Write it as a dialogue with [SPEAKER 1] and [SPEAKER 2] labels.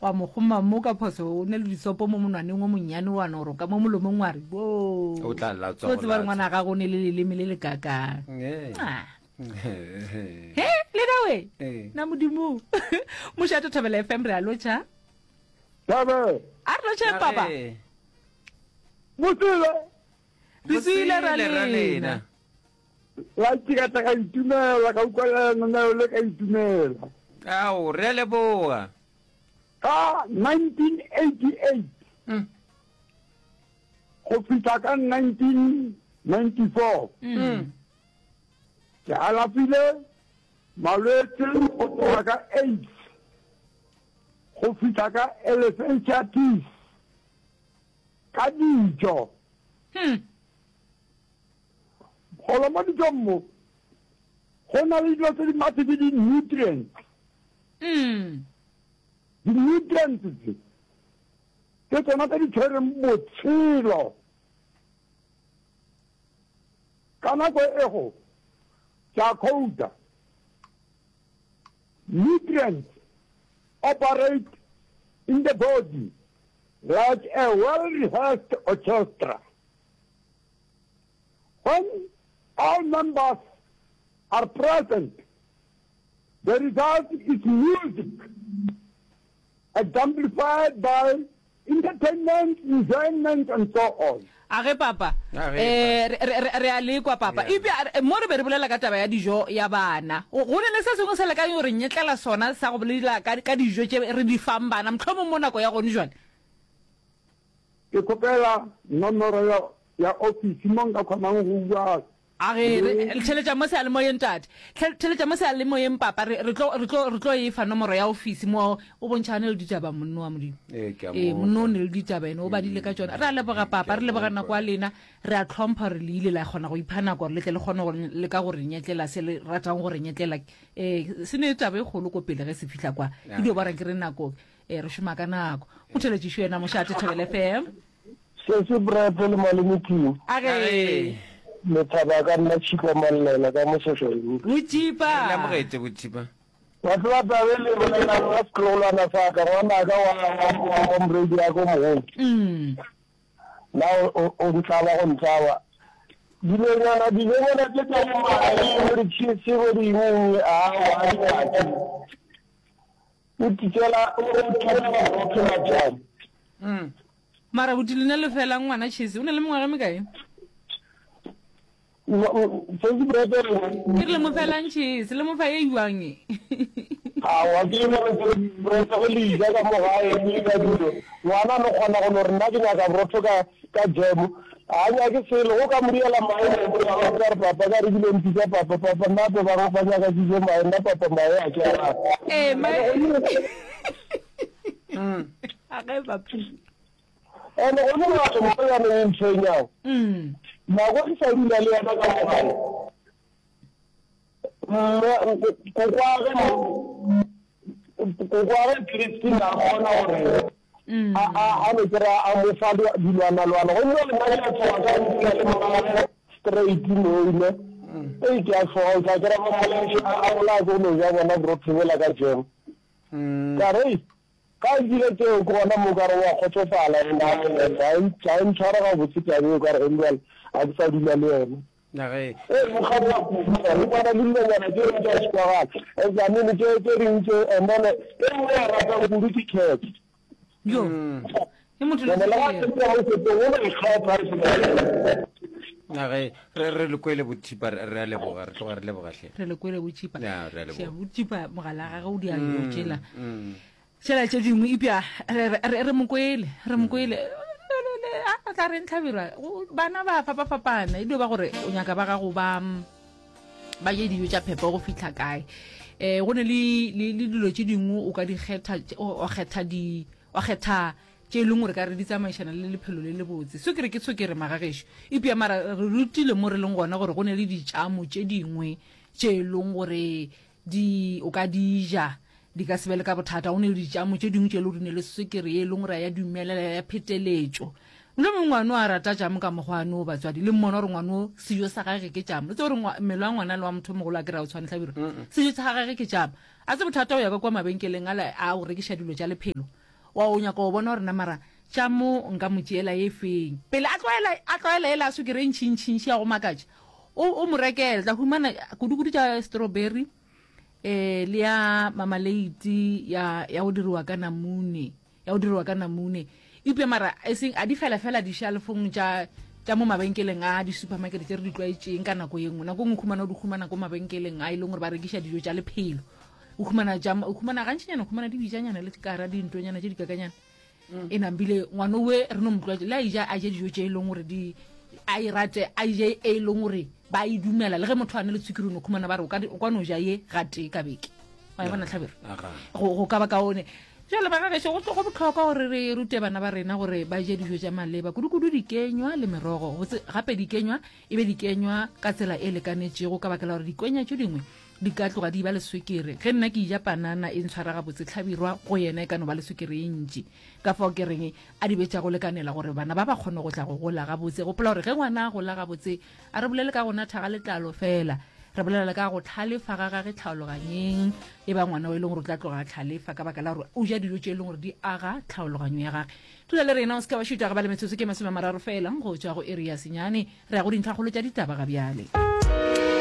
[SPEAKER 1] Wa mo kgoma mo ka phoso o ne le disopo mo monwaneng o monnyane wa no roka mo molomong wa re bo.
[SPEAKER 2] O tla latswa
[SPEAKER 1] O
[SPEAKER 2] go
[SPEAKER 1] tseba gore
[SPEAKER 2] latswa.
[SPEAKER 1] ngwana gago o ne le leleme le le kakang.
[SPEAKER 2] Ee.
[SPEAKER 1] Ah. He, le na we.
[SPEAKER 2] Ee.
[SPEAKER 1] Na modimo. Mošate Thobela FM re a lotšha.
[SPEAKER 3] Thabe.
[SPEAKER 1] A re lotšheng papa.
[SPEAKER 2] Ee.
[SPEAKER 3] Mosele.
[SPEAKER 1] Re tswile ra
[SPEAKER 2] Mosele ra
[SPEAKER 1] lena.
[SPEAKER 2] lena.
[SPEAKER 3] La ke ka tla ka itumela ka utlwa lenaneo le ka itumela.
[SPEAKER 2] Ao, re a leboga.
[SPEAKER 3] Ka 1988
[SPEAKER 2] Mm.
[SPEAKER 3] go fihla ka 1994
[SPEAKER 2] Mm.
[SPEAKER 3] ke alafile malwetse go tloga ka AIDS go fihla ka elephantiasis ka dijo.
[SPEAKER 1] Hmm.
[SPEAKER 3] Golo mo dijong mo go na le dilo tse di mathe ke di-nutrients.
[SPEAKER 1] Mm.
[SPEAKER 3] Di-nutrients tse ke tsona tse di tshwereng botshelo. Ka nako ego ke a quota, nutrients operate in the body like a well-rehearsed orchestra. When all members are present, the result is music, exemplified by entertainment, enjoyment, and so on.
[SPEAKER 1] A ge papa.
[SPEAKER 2] A ge,
[SPEAKER 1] Eh, re, re, re, re a lekwa papa.
[SPEAKER 2] Yeah.
[SPEAKER 1] Eupša re- mo re be re bolela ka taba ya dijo ya bana. Go go na le se sengwe se le ka yo re nyetlela sona sa go bolela ka, ka dijo tše re di fang bana, mohlomong mo nako ya gone jwale.
[SPEAKER 3] Ke kgopela nomoro ya, ya ofisi mo nka kgonang go bua
[SPEAKER 1] A re, re, theletša mo seyalemoyeng, tate. Hle, theletša mo seyalemoyeng, papa. Re, re tlo, re tlo, re tlo e fa nomoro ya ofisi mo. O bontšhane le ditaba, monno wa Modimo.
[SPEAKER 2] Ee, ke a
[SPEAKER 1] Ee,
[SPEAKER 2] mo
[SPEAKER 1] monno o
[SPEAKER 2] kwa.
[SPEAKER 1] ne le ditaba, ene o badile ka tšona. Re a leboga, papa. Re leboga nako ya lena. Re a tlhompha gore le ile la kgona go ipha nako gore le tle le kgone go leka go re nyetlela se le ratang go re nyetlela. Ee, se ne taba e kgolo ko pele ge se fihla kwa. Ke dio ba reng ke re nako. Ee, re šoma ka nako. Motheletšišo yena mošate Thobela FM.
[SPEAKER 4] Sesi Brepo le Malome King.
[SPEAKER 1] A ge.
[SPEAKER 4] Lethaba ka nna Tšhipa Mallela ka mo Soshwaini.
[SPEAKER 1] Botšipa.
[SPEAKER 2] Re le amogetše Botšipa.
[SPEAKER 4] Wa tseba taba e le bolelang ka setlogolwana sa ka, ngwanaka wa, wa, wa, wa morwedi wa ka o mogolo.
[SPEAKER 1] Mm.
[SPEAKER 4] Na o, o, o ntlaba go ntlaba. Dilonyana, dilonyana tše tša bo mae, bo di-cheese, bo di eng eng, aowa, a di nyake. O titšela, o titšela borotho majang.
[SPEAKER 1] Mm. Mara buti lena le fela ngwana chese o na le mengwaga e mekae?
[SPEAKER 4] Sesi Brete re.
[SPEAKER 1] Ke re le mo felang chese le mo fa e jwang e?
[SPEAKER 4] Aowa ke le gore Brete go le ja ka mo gae le ka dilo. Ngwana no kgona go no re nna ke nyaka borotho ka ka jam. A nyake selo go ka mo diela mae mo go ka re papa ka re bile mpitsa papa papa nna pe ba ba nyaka ke je mae nna papa mae a ke a rata.
[SPEAKER 1] Eh mae. A ge papa.
[SPEAKER 4] Ene go ne batho mo ya ne ntshwenyang.
[SPEAKER 1] Mm.
[SPEAKER 4] Nako ke sa dula le yena ka mo gae. Mme kokwage kokwage Christine a kgona gore
[SPEAKER 1] Mm.
[SPEAKER 4] a a a no kry a mo fa dilwana-lwana gomme le nna ke a tšhoga ka go dula le mmagwe straight moine ee ke a tšhoga o tla kry-a ba mmolaiša a bolaya ke go no ja bona borotho bola ka jam ka re ka a dira tšeo ke gona mo ka re wa kgotsofala and ga e ntshware gabotse taba eo ka re gone jale ga ke sa dula le yena
[SPEAKER 2] Na ge.
[SPEAKER 4] Ee, mokgatlo wa kudu, go kwana le dilonyana tše dingwe tša sekwagala. Eupša, I mean, tše, tše dingwe tše, and then e nngwe ya ratang kudu ke cat.
[SPEAKER 1] Yo. E motho le
[SPEAKER 4] And le ga
[SPEAKER 1] sekere.
[SPEAKER 4] ke mo setong, o no ikgetha e se
[SPEAKER 2] Na ge re re le kwele bothipa re re a leboga re tloga re leboga hle.
[SPEAKER 1] Re le kwele botšipa.
[SPEAKER 2] Ya, re a leboga.
[SPEAKER 1] Hle, botšipa mogala gagwe o di a yo tšela. Tšela tše dingwe ipja re, re, re mo kwele, re mo kwele. A tla reng Hlabirwa? Bana ba fapafapana, e dio ba gore o nyaka ba gago ba ba je dijo tša phepo go fihla kae. Eh go ne le le dilo tše dingwe o ka di kgetha, o kgetha di wa kgetha tše e leng gore ka re di tsamaišana le lephelo le lebotse. Sukiri ke sukiri magagešo. Ipja mara re rutile mo re leng gona gore go ne le ditšamo tše dingwe tše e leng gore Di, o ka di ja, di ka se be le ka bothata. Go ne le ditšamo tše dingwe tše e le gore di ne le swekere ye e leng gore ya dumelela ya pheteletšo. Mohlomongwe ngwana o a rata tšamo ka mokgwa wane o batswadi le mmona gore ngwana o sejo sa gage ke tšamo. Le tsebe gore mmele wa ngwana le wa motho o mogolo a kry-a o tshwane Hlabirwa. Sejo sa gage ke tšamo. A se bothata go ya ka kua mabenkeleng ale a go rekiša dilo tša lephelo. Wa o nyaka go bona gore na mara tša mo nka mo tšeela ye feng. Pele a tlwaela, a tlwaela yela ya swikiri e ntšhintšhintšhi ya go makatša, o, o mo rekele. Tla humana kudu-kudu tša strawberry, eh, le ya mamaleiti ya, ya go diriwa ka namune, ya go diriwa ka namune. Eupša mara e seng, a di fela fela dishalfong tša, tša mo mabenkeleng a di-supermarket tše re di tlwaetšeng ka nako ye nngwe. Nako e nngwe o humana o di humana ko mabenkeleng a e leng gore ba rekiša dijo tša lephelo. O humana tša, o humana gantšinyana, o humana di bitšanyana le kara dintonyana tše di kakanyana. Mm. E nambile ngwana owe re no mo tlwaetša le a ija a je dijo tše e leng gore di a e rate a je e leng gore ba e dumela le ge motho a ne le tshwikiri o no khumana ba re o ka o ka no ja ye gatee ka beke wa e bona tlhabero go go ka ba kaone jale ba gagešo go go botlhokwa gore re rute bana ba rena gore ba je dijo tša maleba kudu-kudu dikenywa le merogo gape dikenywa e be dikenywa ka tsela e lekanetšego ka baka la gore dikenya tše dingwe di ka tloga di ba le swekere. Ge nna ke eja panana e ntshwara gabotse, Hlabirwa go yena e ka no ba le swekere ye ntši. Ka fao ke reng a di be tša go lekanela gore bana ba ba kgone go tla go gola gabotse. Gopola gore ge ngwana a gola gabotse, a re bolele ka go natha ga letlalo feela, re bolela le ka go hlalefa ga gage tlhaologanyeng. E ba ngwana o e leng gore o tla tloga a hlalefa ka baka la gore o ja dijo tše e leng gore di aga tlhaologanyo ya gage. Dula le rena, o se ke wa šutha, ga ba le metsotso ke 30 feela go tšwa go iri ya senyane. Re ya go dintlhakgolo tša ditaba ga bjale.